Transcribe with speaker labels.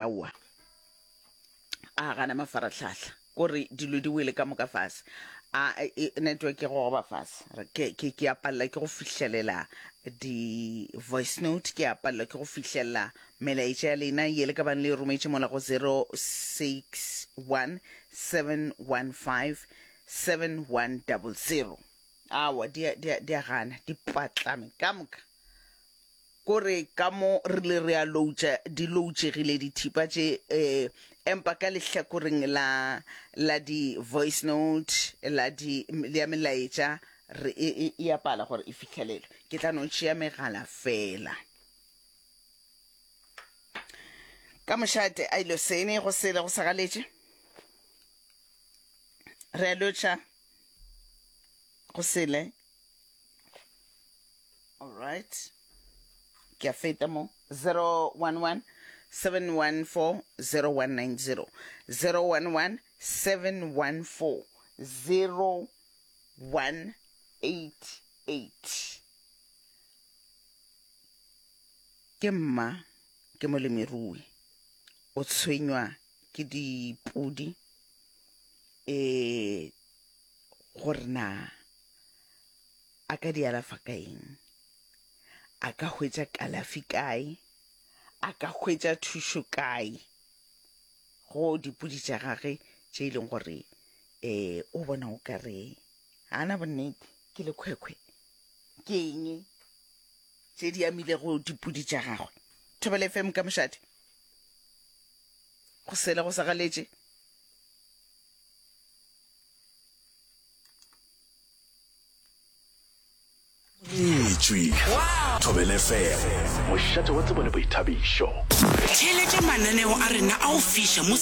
Speaker 1: Aowa, a gana mafarahlahla, kore dilo di wele ka moka fase. A e, network e gogoba fase. Ke, ke, ke a palela ke go fihlelela di voice note, ke a palela ke go fihlelela melaetša ya lena ye le ka bang le e rometše mola go 061 715 7100. Aowa, di a, di a, di a gana, di patlame ka moka. Kore ka mo re le re a loutša, di loutšegile dithipa tše, eh, empa ka lehlakoreng la, la di voice note, la di, ya melaetša, re, e, e, e a pala gore e fihlelelwe. Ke tla no tšea megala fela. Ka mošate a ilo sene, go sele go sagaletše. Re a lotšha, go sele. All right. Ke a feta mo. 011 714 0190. 011 714 0188. Ke mma, ke molemirui. O tshwenywa ke dipudi eh gore na A ka di alafa ka eng? A ka hwetša kalafi kae? A ka hwetša thušo kae go dipudi tša gage tše e leng gore um o bona o ka re ga a na bonnete ke lekhwekhwe? Ke eng tše di amilego dipudi tša gagwe? Thobela FM ka mošate go sele go sa galetše.
Speaker 2: Etšwe Thobela FM, mošate wa tsebo le boithabišo.
Speaker 3: Theeletša mananeo a rena a go fiša mo.